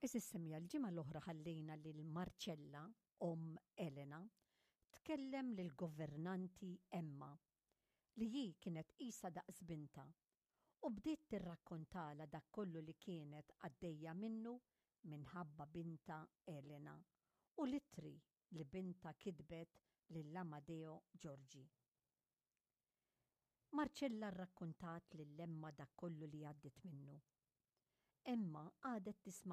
Għeżież semmiegħa l-ġimgħa l-oħra ħallejna lil Marcella, omm Elena, tkellem lill-governanti Emma, li hi kienet qisha daqs bintha, u bdiet tirrakkontalha dak kollu li kienet għaddejja minnu minħabba bintha Elena u l-ittri li bintha kitbet lil Amadeo Giorgi. Marcella rrakkontat lil Emma dak kollu li għaddiet minnu. Emma qagħdet tisma'